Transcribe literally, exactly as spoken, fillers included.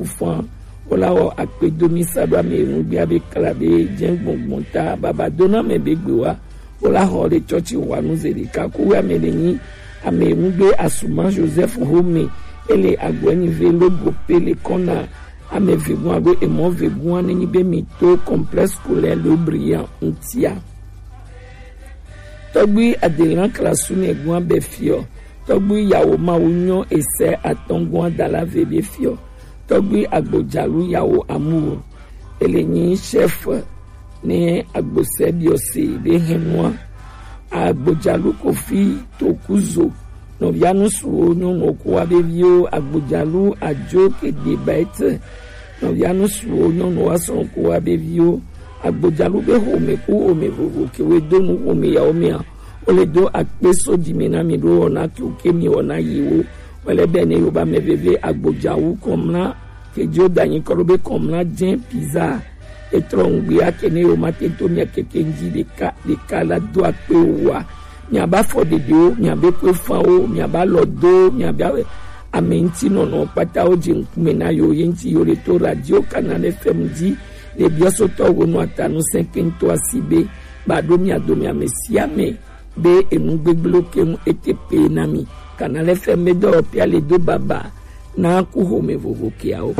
Fã, wola wɔ akpedomi sa ɖo ame enu gbia be kla be jɛn gbɔngbɔn ta baba dona mɛ be gbe wa. Wola xɔ le tsɔtsi wa nu ze ɖeka ku wa mɛ le nyi ame enu gbe asuma Joseph Home ele agbo enyi ve logo pe le kɔna ame vegun alo emɔ vegun ane nyi be mi to complexe scolaire Le Brillant ŋutia. Tɔgbui adelan klasu nɛ gua bɛ fiɔ. Tɔgbui yawo mawu nyɔ esɛ atɔngua dala ve be fiɔ. Tɔgbui agbodzalu yawo amu ele nyi chef ne agbosɛ biɔse be hɛnua. Agbodzalu kofi tokuzo nɔvia nusuwo nyɔnuwo ko wa be viwo agbodzalu ajo kede baete nɔvia nusuwo nyɔnuwo asrɔ ko wa be viwo agbodzalu be xome ku xome vovo ke we do nu xome yawo mia. Wo le do akpe so dzi me na mi ɖo wɔna ke wo ke mi wɔna yi wo. Wele be ne yoba me veve agbodzawu kɔmla ke dzo danyi kɔ ɖo be kɔmla jɛ pizza etrɔ ŋgbia ke ne yo ma te to mia keke ŋdzi ɖeka ɖeka la do akpe wa. Miaba fɔ ɖeɖewo, miabe kɔefawo, miaba lɔ do, miaba ame ŋuti nɔnɔ kpata wo dze ŋkume na yo ye ŋuti yo le to radio Canal F M dzi le biɔsotɔ wo nɔ atanu sɛn kɛntɔ asi be ba ɖo mia do mia me sia me be enu gbegblẽ ke ŋu ete pe na mi. Canal F M be dɔwɔƒea le do baba na ku xome vovo keawo.